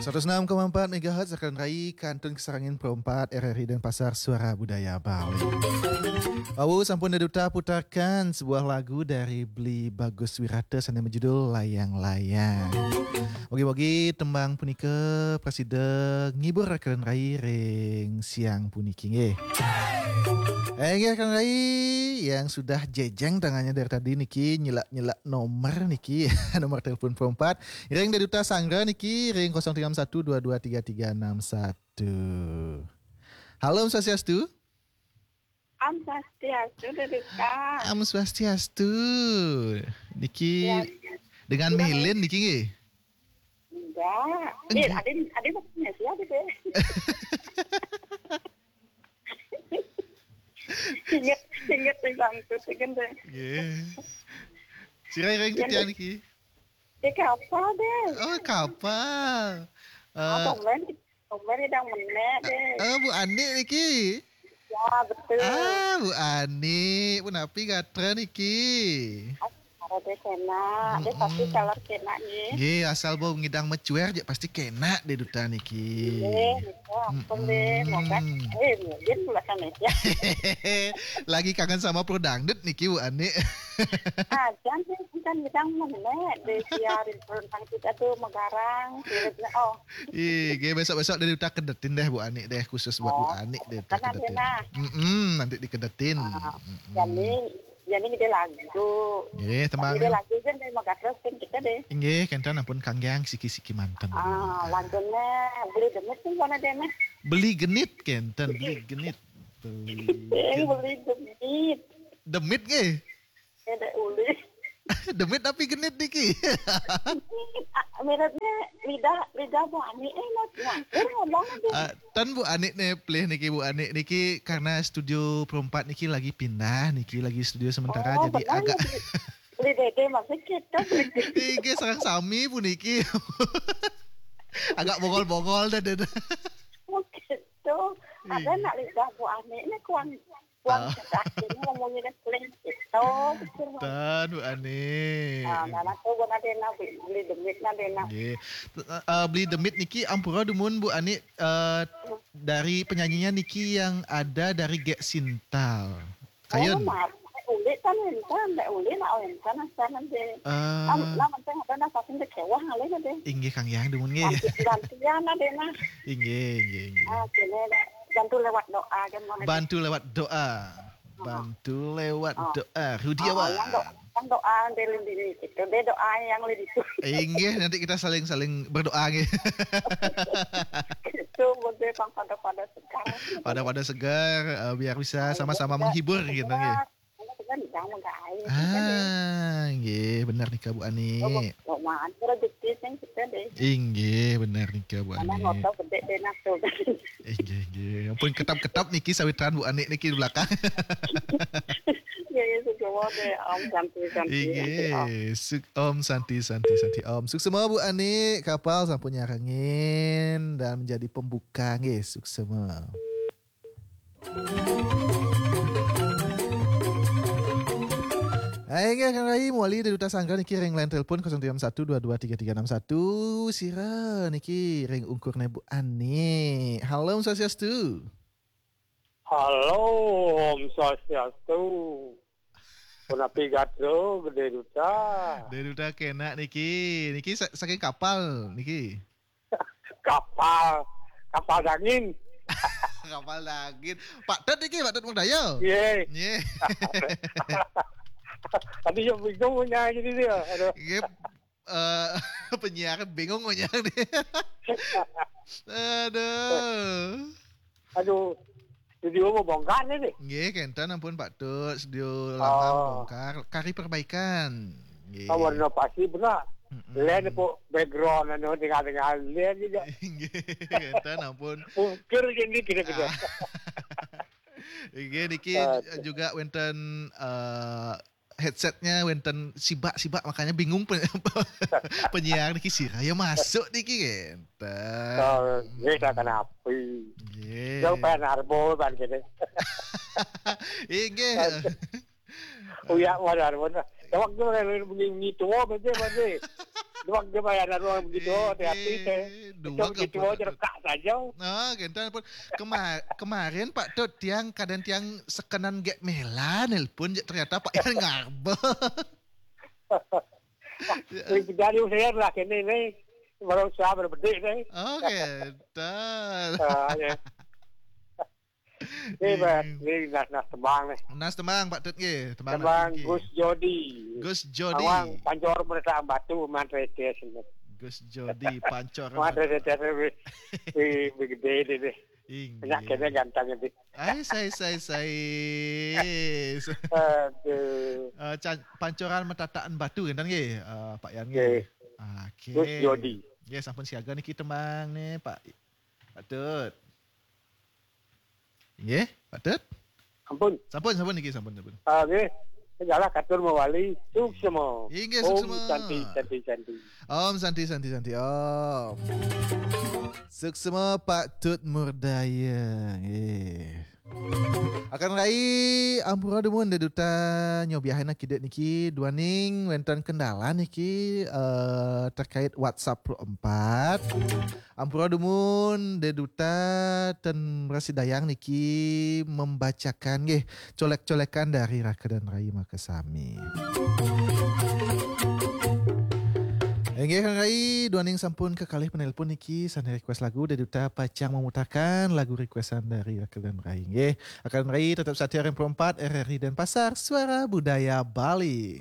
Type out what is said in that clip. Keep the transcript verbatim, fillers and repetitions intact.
Seratus enam koma empat megahertz, Rakan Rai, kantun kasarengin Pro empat R R I Denpasar, Suara Budaya Bali. Awu, sampun Dé Duta putarkan sebuah lagu dari Beli Bagus Wirata sané berjudul Layang-Layang. Mugi-mugi tembang punika prasida ngibur Rakan Rai ring siang puniki nggih. Eh, nggih, Rakan Rai, yang sudah jejeng tangannya dari tadi niki, nyelak-nyelak nomor niki, nomor telepon Pro empat. Ring Dé Duta Sanggra niki ring kosong tiga enam satu dua dua tiga tiga enam satu. Halo, Om Swastiastu. Om Swastiastu, Dé Duta. Om Swastiastu. Niki Ya. Dengan Mélin niki nggih? Enggak. Enggak. Adin, adin maksudnya siapa, Dé? Ingat, ingat ring bangku, ingat, Dé. Nggih. Sira ring titiang niki? Di kapal, Dé. Oh, kapal. Eh, apa men? Apa men idang menék, Dé? Eh, Bu Ani niki? Ya, betul. Ah, Bu Ani, punapi gatra niki? Ada Dé kénak, Dé pasti Mm-mm. Kaler kénak nggih. Nggih, asal bau ngidang mecuer aja pasti kénak Dé Duta niki. Nggih, nggih, ampun Dé, moga. Mm-mm. Eh, mungkin pula kan ya. Lagi kangen sama Pro Dangdut niki, Bu Ani. Ah, jangan kan ngidang menék Dé, siarin tentang kita tuh megarang, siarin, oh. Ih, nggih, besok-besok Dé Duta kedetin deh Bu Ani deh, khusus buat Bu Oh, Ani Dé Duta kan ada kedetin. Nah. Mm-mm, nanti dikedetin. Ah, Mm-mm. Jadi, jadi kita lagu. Nggih, tembang. Kita lagu kan dari Megatros kan kita deh. Nggih, kénten ampun kanggiang siki-siki manten. Ah, lagunya Beli Demit tuh mana deh, nah? Beli Genit kénten, Beli Genit. Beli Eh, Gen- Beli Demit. Demit nggih? Ada uli. Demit tapi genit niki. Miripnya lidah, lidah Bu Ani, eh, mas, nyampir ngomong aja. Ah, ten Bu Ani nih, pelih niki Bu Ani niki karena studio Pro empat niki lagi pindah niki, lagi studio sementara, Oh, jadi benar agak ya, beli, beli Dede masih kita beli. Niki sareng sami puniki. Agak bongol-bongol dah, dah, dah. Oh, gitu. Ada Iya. Nak lidah Bu Ani ini kuang, kuang Ah. Cedak ini ngomongnya dah plain gitu. Betul. Tan, Bu Ani. Ah, nah, nah, tuh, Bu Nadena, beli, beli demit Nadena. Nggih. Eh, eh, beli demit niki ampura dumun, Bu Ani, eh, dari penyanyinya niki yang ada dari Gek Sintal. Kayun. Oh, maaf. Uli kan enten, Dek Uli nak enten, enten aja. Eh. Am, nah, penting ada nak saking kecewa kali aja. Inggih, kanggiang dumun nggih. Ganti-, gantian aja nah. Inggih, inggih, inggih. Ah, kene, Dek. Bantu lewat doa aja mau. Bantu lewat doa. Ah. Bantu lewat Ah. Doa. Rudi Ah, awak. Yang doa, yang doa dari diri itu. Dia doa yang lebih itu. Inggih, nanti kita saling-saling berdoa nggih. Itu boleh Bang pada-pada segar. Pada-pada segar, eh, biar bisa sama-sama menghibur gitu nggih. Kan jangan nggak air. Ah, nggih, bener nika Bu Ani. Oh, mau, mau rezeki sing kita deh. Inggih, bener nika Bu Ani. Karena ngotot gede deh nafsu. Inggih, inggih. Ampun ketap-ketap niki sawitran Bu Ani niki di belakang. Ya, ya, suka deh. Om Santi, Santi, Santi, Om. Inggih. Suk-, Om Santi, Santi, Santi, Om. Suksema Bu Ani, kapal sampun nyarengin dan menjadi pembuka nggih, suksema. Hai, nggih, Kang Rai, mawali Dé Duta Sanggra niki ring line telepon kosong tiga enam satu dua dua tiga tiga enam satu. Sira niki ring ungkur Bu Ani. Halo, Om Swastiastu. Halo, Om Swastiastu. Punapi gatra, Dé Duta? Dé Duta kénak niki. Niki sa-, saking kapal niki. Kapal, kapal dangin. Kapal dangin. Pak Tut niki, Pak Tut Magdaya. Nggih. Nggih. Tadi yang bingung punya jadi dia. Aduh. Nggih. Eh, penyiar bingung punya nih. Aduh. Aduh. Studio mau bongkar nih, nih. Nggih, kénten ampun Pak Tut, studio lama Oh. Bongkar, kari perbaikan. Nggih. Oh, warna pasti benar. Mm-mm. Lain po background anu dengar-dengar lain juga. Nggih, kénten ampun. Mungkir gini kira-kira. Ah. Nggih, niki Ah. Juga wénten, eh, headsetnya wénten sibak-sibak, makanya bingung pe-, penyiar niki sira ya masuk niki kénten. Oh, nggih, tak kenapa. Nggih. Jauh pengen arbo, ban kene. Inggih. Uya, wadah, wadah. Ya, waktu lain bunyi, bunyi tua, berarti, berarti. Duag dia bayar orang begitu, hati-hati teh. Duag Begitu apa, aja Pak Tut? Retak saja. Ah, gentan pun. Kema- kemarin Pak Tut, tiang kadang tiang sekenan gek mela nelpon je, ternyata Pak Yan ngarbeh. Jadi saya lah kini ni baru saya berbedi ni. Oh, gentan. Ah, ya. Ni ber, ni nas nas tembang ni. Nas tembang Pak Tut nggih, tembang Tembang nggih. Gus Jodi. Gus Jodi. Awang pancor mereka batu mantre tes ni. Gus Jodi pancor. Mantre tes ni. Di gede ni ni. Inggih. Banyak kena ganteng ni. Ai, sai, sai, sai. Aduh. Eh, can- pancoran metataan batu kan nggih, eh, Pak Yan Nggih. nggih. Oke. Gus Jodi. Nggih, sampun siaga niki tembang nih, Pak. Pak Tut. Nggih, Pak Tut. Ampun. Sampun, sampun niki, sampun, sampun. Ah, nggih. Segala katur mawali suksma. Inggih, Om suksma. Santi, Santi, Santi. Om Santi, Santi, Santi, Om. Suksma Pak Tut Murdaya. Nggih. Akan rai ampura dumun Dek Duta, nyobiahin kidek niki duaning wenten kendala niki, eh, terkait WhatsApp empat. Ampura dumun Dek Duta, ten bersidayang niki membacakan nggih colek-colekan dari raka dan rai makasami. Inggih, Kang Rai, duaning sampun kekalih penelpon niki, sane request lagu, Dek Duta pacang memutakan lagu requestan dari raka dan rai. Nggih, akan rai tetap setia R M Pro empat, R R I Denpasar, Suara Budaya Bali.